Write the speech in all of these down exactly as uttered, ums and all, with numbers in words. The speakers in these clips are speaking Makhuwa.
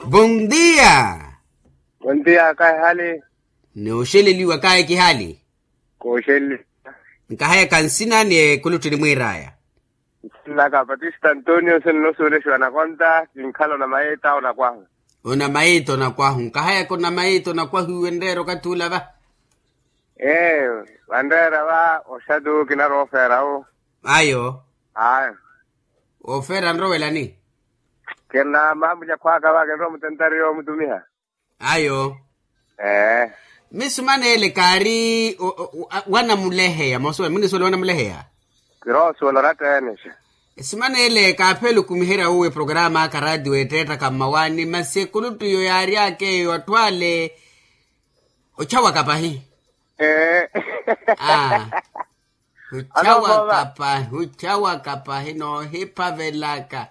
Bondia. Bondia kaehali. Nooxeleliwa kaekihali. Kooxeleliwa. Nkahayaka nsina ni ekuluttini mwiiraya. Nsina ka patista antonio nsina noosuwelexiwa nakonta kinkhala onamayeeta onakwahu. Onamayeeta onakwahu nkahayaka onamayeeta onakwahu iwe nreera okathi ula va. Ee. Vanreera va oxatu kinaroofeera wu. Ayo. Ayo. Ofeera nrowelani. Kena maamulya khwaka va kinrowa mutentari yoomutumiha. Ayo. Ee. Misumanele kaari wanamuleheya mosuwela munisuwela wanamuleheya. Kiroosuwela oratteenexa. Esimanele kaaphela okumiherya wuwo eprograma aka raatiyo eetteettaka mmawaani masi ekuluttu iyo yaaryaka eyo atthu ale. Ochawaka pahi. Aa. Ochawaka pahi ochawaka pahi noohiphavelaka.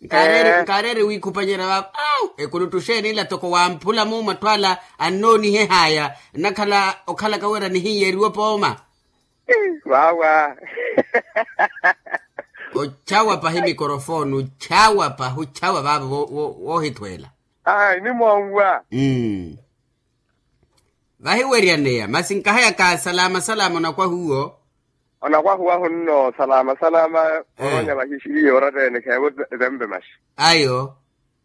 Nkaareere wiikhupanyeerya vaava au ekuluttu xeeni ila toko wamphula muumo atthu ala annoonihehaya nnakhala okhalaka wira nihinyeeriwe pooma. Vaawa. Ochawa pahi mikorofoni ochawa pahi ochawa vaava voohithweela. Ai nimoonwa. Vahiweryaneya masi nkahayaka salama salama onakwahuwo. Onakwahuwahu nno salama salama. Oronya vahixihiye oratta-ene kheevo etempe maxi. Ayo.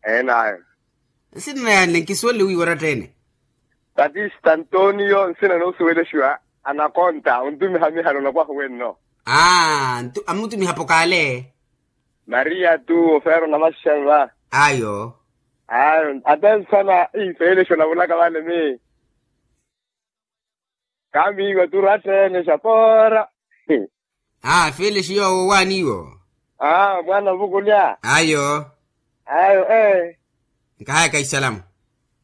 Eenayo. Nsina nayanne nkisuwele wiiwa oratta-ene. Patista antonio nsina noosuwelexiwa anakonta ontumiha mihani onakwahu wenno. Aa amutumiha pokaale. Maria tu ofeera onamaxixani va. Ayo. Ayo ata nsana ii feelexi onavulaka vale mi. Kaamiiwa tu oratta-ene xapoora. Aa feelexi yoowo waaniiwo. Aa mwaana ovukulya. Ayo. Ayo ee. Nkahayaka isalamu.